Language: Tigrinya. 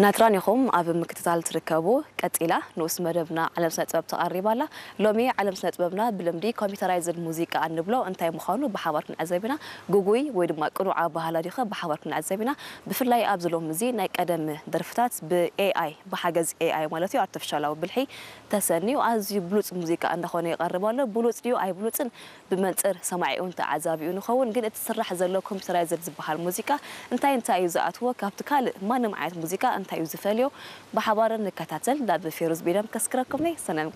ናትራን ኢኹም ኣብ ምክትታል ትርከቡ። ቀጺላ ንኡስ መደብና ዓለም ስነ ጥበብ ተቐሪባ ኣላ። ሎሚ ዓለም ስነ ጥበብና ብልምዲ ኮምፒውተራይዝድ ሙዚቃ እንብሎ እንታይ ምዃኑ ብሓባር ክንዕዘብ ኢና። ግጉይ ወይ ድማ ቅኑዕ ኣበሃህላ ድዩ ብሓባር ክንዕዘብ ኢና። ብፍላይ ኣብዚ ሎሚ እዚ ናይ ቀደም ደርፍታት ብ ኤ ኣይ፣ ብሓገዝ ኤ ኣይ ማለት እዩ፣ ኣርቲፊሻላዊ ብልሒ ተሰንዩ ኣዝዩ ብሉጽ ሙዚቃ እንዳኾነ ይቐርብ ኣሎ። ብሉጽ ድዩ ኣይብሉጽን ብመንጽር ሰማዒኡን ተዓዛቢኡ ንኸውን። ግን እቲ ስራሕ ዘሎ ኮምፒውተራይዝድ ዝበሃል ሙዚቃ እንታይ እንታይ እዩ ዝኣትዎ፣ ካብቲ ካልእ ማንም ዓይነት ሙዚቃ እንታይ እዩ ዝፈልዮ፣ ብሓባር ንከታተል። ናብ ፌሩዝ ቢንያም ከስክረኩም ነይ ሰናይ